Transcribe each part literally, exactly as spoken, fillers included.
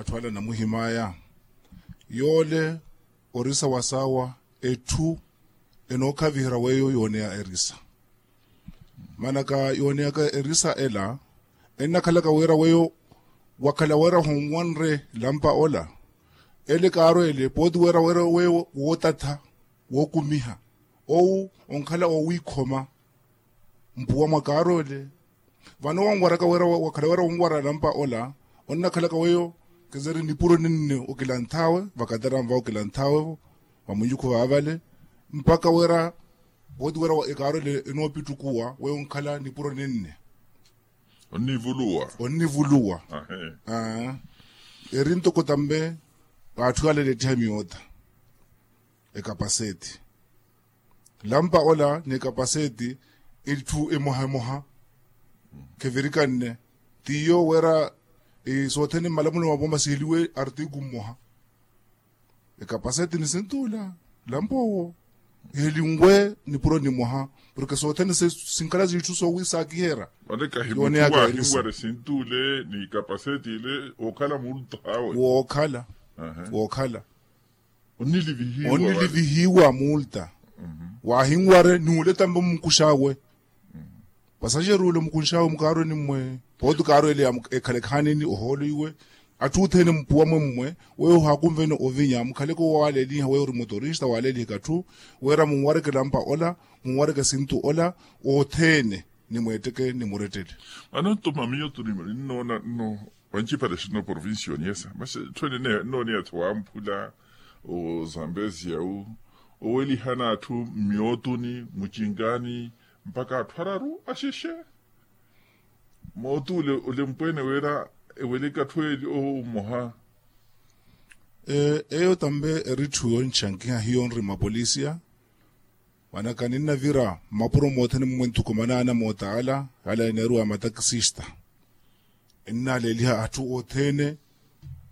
atthu ala anamuhim'aya. Yoole orisa wa saawa etthu enookhaviherya weiyo yooneya erisa. Manaka yooneyaka erisa ela ennakhalaka wira weiyo wakhala wira honwanre lampa ola. Ele kaaro ele pooti wira wira weiyo wootatha wookumiha owu onkhala owiikhoma mpuwa mwa kaaro ele. Vano wanwaraka wira wakhala wira wonwara lampa ola onnakhalaka weiyo kizeri nipuro ninne okilanth'awe vakatera nva okilanth'awe vamwinyukhu vaavale mpakha wira pooti wira ekaaro ele enoopittukuwa weiyo onkhala nipuro ninne. Onnivuluwa. Onnivuluwa. Eri ntoko tambe atthu ale elettiha miyoota ekapaseti lampa ola ni ekapaseti itthu emoha emoha. Khevirikanne tiyo wira sothene mmalamulo mavo masiheliwe artiku mmoha. Ekapaseti ni sintuula lampa owo ihelinwe nipuro ni mwaha. Porke sothene sinkhala sitthu soowisakiherya. Vale kahi mutthu waahinware sintuule ni kapaseti ile wookhala multahawe. Wookhala wookhala onnilivihiwa multa. Waahinware n'ule tambe mmukux'awe. Pasaxeru ole mukunx'awe mukaarweni mmwe pooti kaarwele ekhala ekhaanini ohoolo iwe. Atthu othene mpuwa mwe mmwe weyo ohaakunvene ovinya mukhaleke owo waaleeliha weyo ori motorista waaleeliheke atthu wira munwareke lampa ola munwareke sintu ola othene nimweetteke nimurettele. Vano ntuma miyo tuni ninnoona nno vancipale sinno provincia oniesa masi etthu ene nnooneya-tho wamphula ozambezia wu owelihana atthu mmiyootuni mucinkani mpakha atthu araru axexe. Mootule ole mpweene wira eweleke atthu eeli owo mmoha. Eyo tambe eri etthu yonchankiha hiyo nri mapolisia. Manaka ninnavira mmapuro moothene mmwe nthukumanaana mootaala ala eneeruwa matakisista. Ennaleeliha atthu othene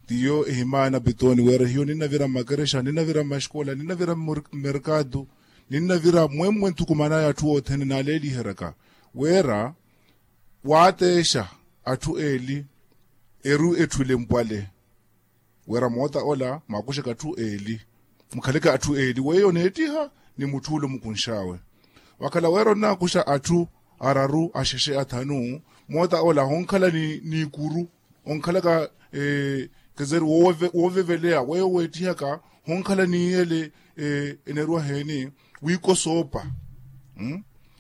tiyo ehimaana pitooni wira hiyo ninnavira mmakerexa ninnavira mmaxikola ninnavira mmerkatu. Ninnavira mwemmwe nthukumanaya atthu othene naaleeliheryaka wira waateexa atthu eeli eru etthu elempwale. Wira moota ola mwaakuxeke atthu eeli mukhaleke atthu eeli weyo oneettiha ni mutthu ole omukunx'awe. Wakhala wira onnaakuxa atthu araru axexe athanu moota ola honkhala n'ikuru onkhalaka kezeri wooveveleya weyo weettihaka honkhala n'iyele eneeriwa heeni wiikosoopa.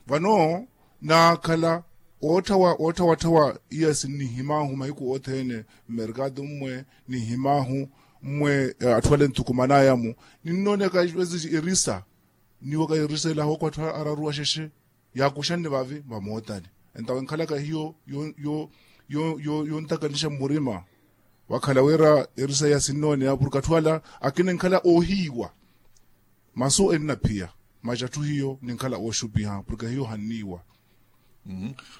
Vano naakhala ootthawa ootthawatthawa iya sinnihimahu mahiku othene mmerkatu mmwe nihimahu mmwe atthu ale nthukumanaya-mu. Ninnooneyaka erisa niwaka erisa ela hooko atthu araru axexe yaakuxanne vaavi vamootani. Entawe enkhalaka hiyo yontakanixa mmurima wakhala wira erisa iya sinnooneya porke atthu ala akina enkhala oohiiwa. Masu ennaphiya macatthu hiyo ninkhala ooxupiha porke hiyo ohanniiwa.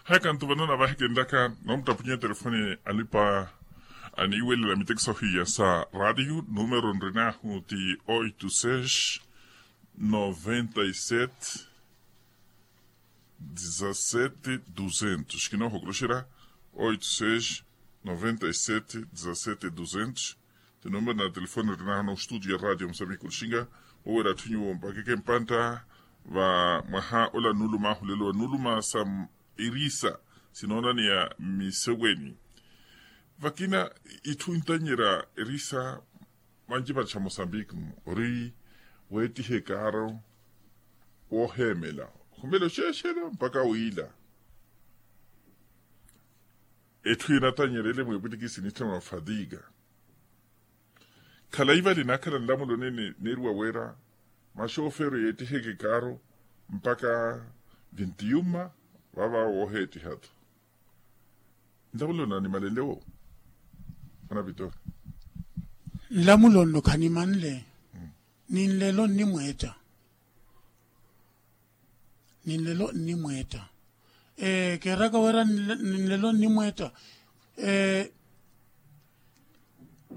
Haya kantu vano navahekenlaka noomuttapunye telefoni alipa aniiwelela mitekiso hiya sa radio numero nrinahu ti oito seis noventa e sete dezasete duzentos kinoohokoloxera oito seis noventa e sete dezasete duzentos. Ti numero na telefoni rinahana ostudio ya radio musambiki olixinga owera atthu nyuwo mpakeke mpantta va mwaha ola nuuluma ahulelo wa nuuluma sa irisa sinoonaneya mmiseweni. Vakina itthu intanyerya erisa vancipattixa mosambiki mu ori weettiha ekaaro wooheemela ohumela oxeexela mpakha wiila. Etthu enatanyerele mweepwitikisi nitthana wa fatiga. Khalayi vale naakhala nlamulo nene neeriwa wira maxooferi yeettiheke ekaaro mpakha vinti yuma vaava wooheettiha-tho. Nlamulo nanimalenle wo mwana vitori. Nlamulo nno khanimanle. Ninlelo nnimweetta. Ninlelo nnimweetta. Keeraka wira ninlelo nnimweetta.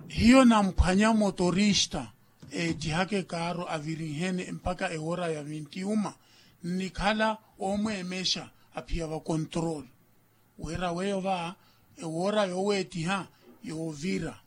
Hiyo namphwanya motorista eettihaka ekaaro avirinhene mpakha ewora ya vinti yuma. Nnikhala oomweemexa aphiya va control wira weyo va ewora yooweettiha yoovira.